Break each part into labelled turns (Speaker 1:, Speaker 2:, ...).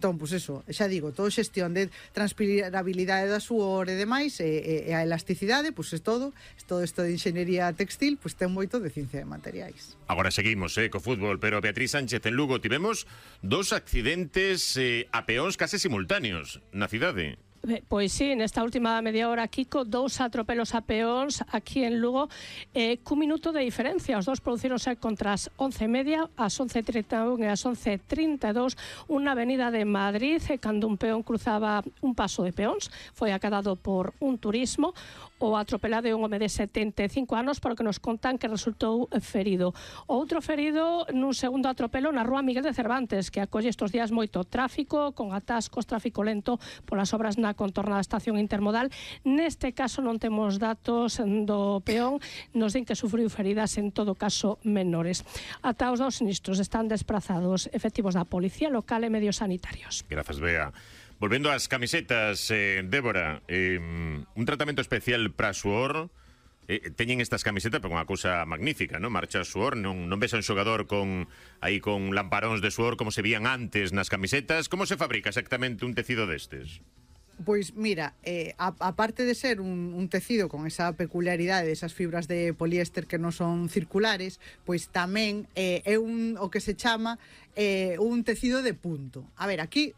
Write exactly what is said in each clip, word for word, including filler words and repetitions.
Speaker 1: Entón, pois eso, xa digo, todo xestión de transpirabilidade da suor e demais, e, e a elasticidade, pois é todo, todo isto de enxeñería textil, pois ten moito de ciencia de materiais.
Speaker 2: Agora seguimos, eh, co fútbol, pero Beatriz Sánchez, en Lugo tivemos dos accidentes eh, a peóns case simultáneos na cidade.
Speaker 3: Pois sí, nesta última media hora, Kiko, dous atropelos a peóns aquí en Lugo, eh, cun minuto de diferencia. Os dous producironse contra as once e media, as once e trinta e un e as once e trinta e dous, unha avenida de Madrid, e cando un peón cruzaba un paso de peóns, foi acadado por un turismo. O atropelado é un home de setenta e cinco anos, para que nos contan que resultou ferido. O outro ferido nun segundo atropelo na rúa Miguel de Cervantes, que acolle estes días moito tráfico, con atascos, tráfico lento polas obras na contorna da estación intermodal. Neste caso non temos datos do peón, nos din que sufriu feridas en todo caso menores. Ata os dous sinistros están desprazados efectivos da Policía Local e medios sanitarios.
Speaker 2: Grazas, Bea. Volvendo ás camisetas, eh, Débora, eh, un tratamento especial para suor. Eh, teñen estas camisetas, pero unha cousa magnífica, non? Marcha suor, non, non ves a un xogador con aí con lamparóns de suor como se vían antes nas camisetas. Como se fabrica exactamente un tecido destes?
Speaker 1: Pois mira, eh, a, aparte de ser un, un tecido con esa peculiaridade de esas fibras de poliéster que non son circulares, pois tamén eh, é un o que se chama eh, un tecido de punto. A ver, aquí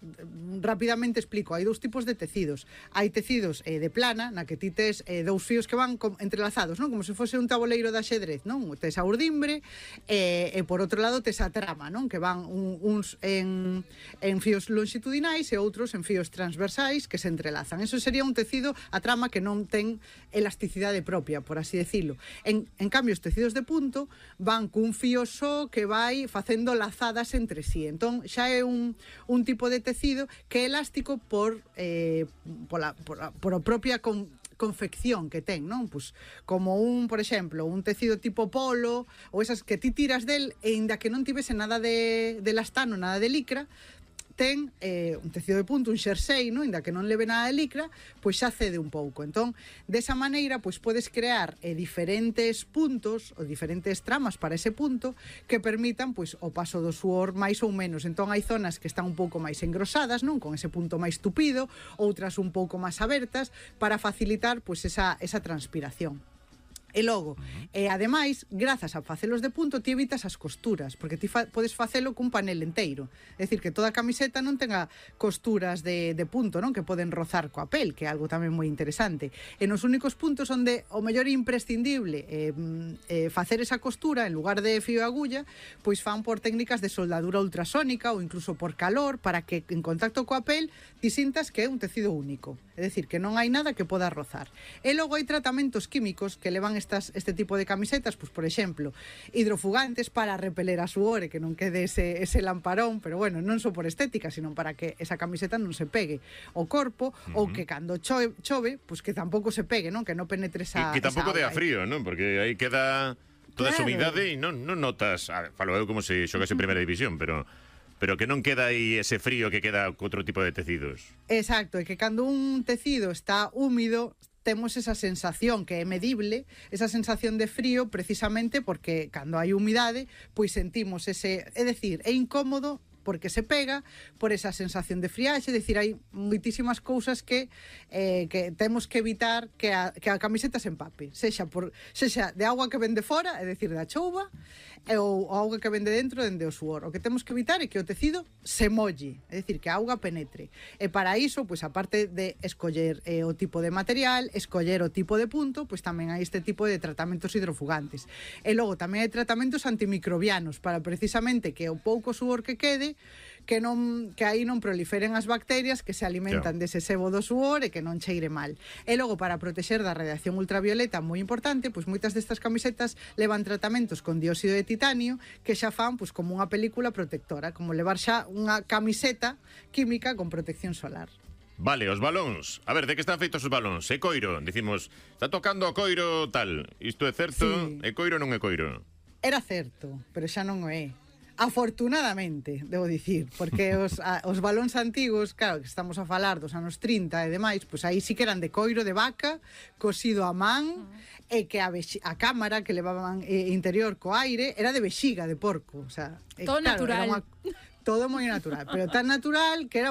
Speaker 1: rapidamente explico, hai dous tipos de tecidos. Hai tecidos eh, de plana, na que ti tes eh, dous fíos que van entrelazados, non? Como se fose un tabuleiro de axedrez, non? Tes a urdimbre eh, e por outro lado tes a trama, non? Que van un, uns en, en fíos longitudinais e outros en fíos transversais que se entrelazan. Eso sería un tecido, a trama, que non ten elasticidade propia, por así decirlo. En, en cambio, os tecidos de punto van cun fío só que vai facendo lazadas entre sí. Entón, xa é un, un tipo de tecido que é elástico por, eh, pola, por, a, por a propia con, confección que ten, non? Pues, como un, por exemplo, un tecido tipo polo, ou esas que ti tiras del, e inda que non tivese nada de, de elastano, nada de licra, ten eh, un tecido de punto, un xersei, no? Inda que non leve nada de licra, pois xa cede un pouco. Entón, desa maneira, pois podes crear eh, diferentes puntos ou diferentes tramas para ese punto que permitan pois o paso do suor máis ou menos. Entón, hai zonas que están un pouco máis engrosadas, non? Con ese punto máis tupido, outras un pouco máis abertas, para facilitar pois esa, esa transpiración. E logo, e ademais, grazas a facelos de punto, ti evitas as costuras, porque ti fa podes facelo cun panel enteiro. É dicir, que toda a camiseta non tenga costuras de, de punto, non? Que poden rozar coa pel, que é algo tamén moi interesante. E nos únicos puntos onde o mellor é imprescindible eh, eh, facer esa costura, en lugar de fío e agulla, pois fan por técnicas de soldadura ultrasónica ou incluso por calor, para que en contacto coa pel ti sintas que é un tecido único. É dicir, que non hai nada que poda rozar. E logo hai tratamentos químicos que levan estas, este tipo de camisetas, pois, por exemplo, hidrofugantes para repeler a suor e que non quede ese, ese lamparón, pero bueno, non só por estética, sino para que esa camiseta non se pegue ao corpo, uh-huh. ou que cando chove, chove, pois que tampouco se pegue, non? Que non penetre esa
Speaker 2: Que, que tampouco dea frío, non? Porque aí queda toda claro. esa humidade e non, non notas, ah, falo eu como se xogase en primeira división, pero... pero que non queda aí ese frío que queda co outro tipo de tecidos.
Speaker 1: Exacto, e que cando un tecido está húmido, temos esa sensación que é medible, esa sensación de frío, precisamente porque cando hai humidade, pois sentimos ese, é dicir, é incómodo porque se pega por esa sensación de friaxe, é dicir, hai moitísimas cousas que eh, que temos que evitar que a, que a camiseta se empape, sexa por sexa de auga que vende fora, é dicir, da chouva, ou a auga que vende dentro dende o suor. O que temos que evitar é que o tecido se molle, é dicir, que a auga penetre. E para iso, pois aparte de escoller eh, o tipo de material, escoller o tipo de punto, pois tamén hai este tipo de tratamentos hidrofugantes. E logo tamén hai tratamentos antimicrobianos para precisamente que o pouco suor que quede que non que aí non proliferen as bacterias que se alimentan claro. dese sebo do suor e que non cheire mal. E logo, para protexer da radiación ultravioleta, moi importante, pois moitas destas camisetas levan tratamentos con dióxido de titanio que xa fan pois como unha película protectora, como levar xa unha camiseta química con protección solar.
Speaker 2: Vale, os balóns. A ver, de que están feitos os balóns? É coiro. Dicimos, está tocando o coiro tal. Isto é certo? Sí. É coiro ou non é coiro?
Speaker 1: Era certo, pero xa non o é. Afortunadamente, debo dicir, porque os, a, os balóns antigos, claro, que estamos a falar dos anos trinta e demais, pois aí sí que eran de coiro de vaca, cosido a man, uh-huh. e que a, a cámara que levaban eh, interior co aire era de vexiga de porco, o sea,
Speaker 4: todo
Speaker 1: eh, claro,
Speaker 4: natural.
Speaker 1: Era unha, todo moi natural, pero tan natural que era un